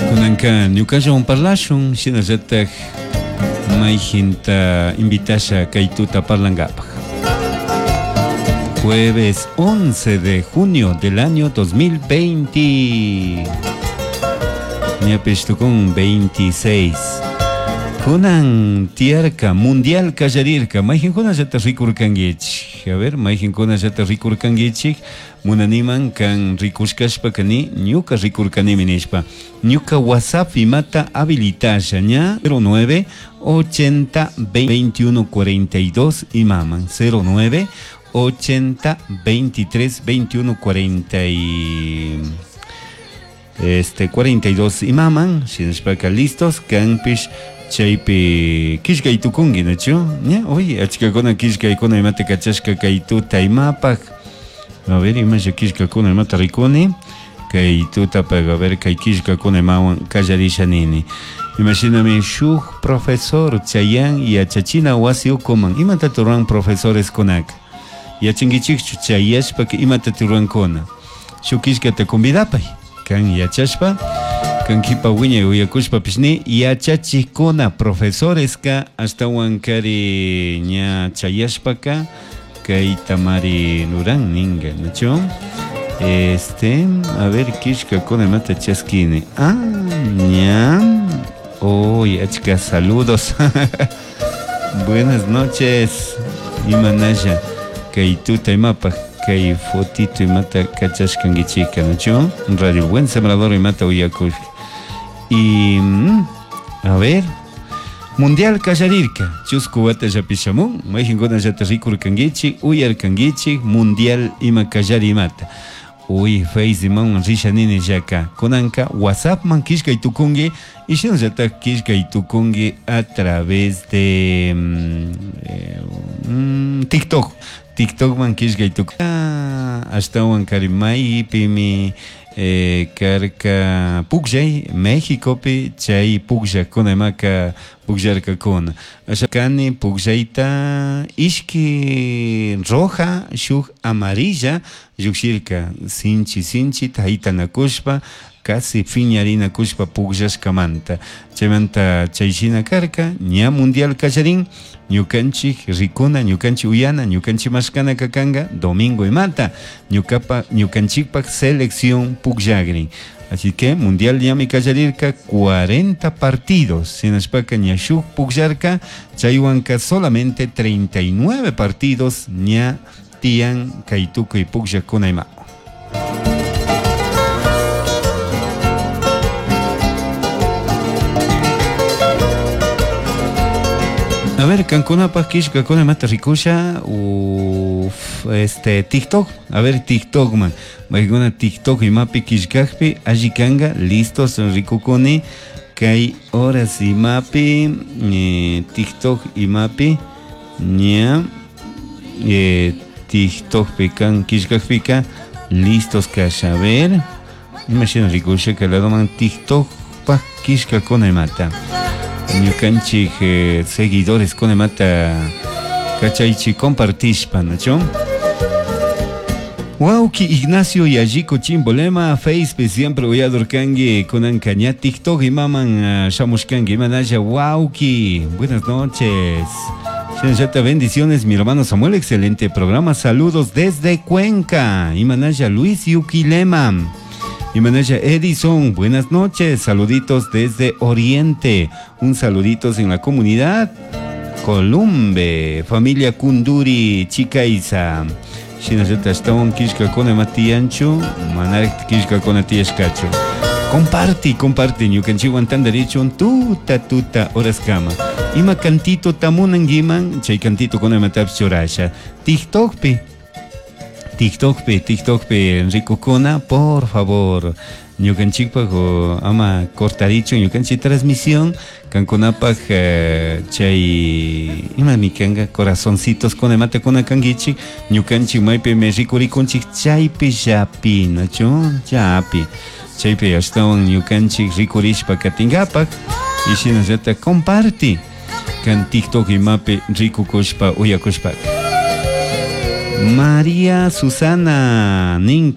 Kunanka ñukallawan parlashun shinallatak mayjinta invitasha kay tuta parlankapaj. Jueves 11 de junio del año 2020. Ñapish tukun 26. Kunan tiyarka mundial kallarirka mayjinkunallata rikurkankichik. A ver, mayjinkunallata rikurkankichik munaniman kan rikushkashpaka ni ñuka rikurkanimi nishpa. Ñuka WhatsApp imata habilitasha ña 09 80 21 42 imaman 09 80 23 21 40 y 42 imaman shinashpaka listos kanpish chaypi killkay tukunki nachu ña oye achkakuna killkaykuna imata kachashka kay tuta imapaj. A ver, imasha killkakuna imata rikuni kay tutapaj, a ver, kay killkakuna imawan kallarisha nini. Imashinami shuk profesor chayan yachachina wasi ukuman imata ruran profesores kunaka yachankichikchu chayashpaka imata rurankuna shuk killkata convidapay kan yachashpa kan kipa wiñay uyakushpapish ni yachachikuna profesoreska ashtawan kari ña chayashpaka kayta mari ruran ninga nachu a ver killkakuna imata chaskini. Ah, ña. Uy, achka saludos. Buenas noches. Imanalla kay tuta imapaj kay fotito imata kachashkankichika nachu Radio Buen Sembrador imata uyakush. Y a ver, Mundial kallarirka chusku wata llapishamun mayjinkunallata rikurkankichik uyarkankichik Mundial ima kallari imata. Uy, Face imawan risha nini llaka kunanka WhatsAppman killkay tukunki y shinallatak killkay tukunki a través de TikTok. TikTokman killkay tukun. Ashtawan kari maypimi karka pukllay Mexicopi chay pukllakuna imaka pukllarkakuna. Kani pukllayta ishki roja shuk amarilla llukshirka sinchi sinchi haytanakushpa casi phiñarinakushpa pukllashkamanta. Chaymanta chayshina karka ña mundial kallarin ñukanchik rikuna ñukanchik uyana ñukanchik mashkana kanka domingo imata ñukapa ñukanchikpak selección pukllakrin. Así que mundial ñami kallarirka 40 partidos shinashpaka ña shuk pukllarka chaywanka solamente 39 partidos ña tiyan kay tukuy pukllakuna ima. A ver, kankunapaj killkakuna imata rikusha uf, TikTok, a ver TikTok man, maykuna TikTok imapi killkakpi alli kanka listos rikukuni kay horas imapi TikTok imapi ña TikTokpi kan killkakpika listos kasha. A ver, imashina rikusha kay ladoman TikTokpaj killkakuna imata. Ñukanchik seguidores kuna imata kachaychik compartishpa, ¿nachu? Wauki Ignacio Yalliko Chimbolema, Facebook siempre uyador kanki kunanka ña TikTok imaman shamushkanki imanalla wauki. Buenas noches. Shinallata bendiciones, mi hermano Samuel, excelente programa. Saludos desde Cuenca. Imanalla Luis Yuquilema. Imanalla Edison, buenas noches, saluditos desde Oriente, un saluditos en la comunidad Columbe, familia Kunduri, Chicaiza. Shinallata ashtawan killkakuna ima tiyanchu, manarik killkakuna tiyashkachu. Comparti, comparti, ñukanchikwan tantarichun tuta tuta horaskama. Ima cantito tamunankiman, chay cantito kuna imatapish churasha. TikTokpi, TikTokpi, TikTokpi rikukuna, por favor, ñukanchikpak ama cortarichun ñukanchik transmisión, kankunapaj chay imami kanka corazoncitos kuna imata kuna kankichik, ñukanchik maypimi rikurikunchik chaypi llapi, nachu? Llapi. Chaypi ashtawan ñukanchik rikurishpa katinkapak y shinallata comparti kan TikTok imapi rikukushpa uyakushpaka. María Susana nin.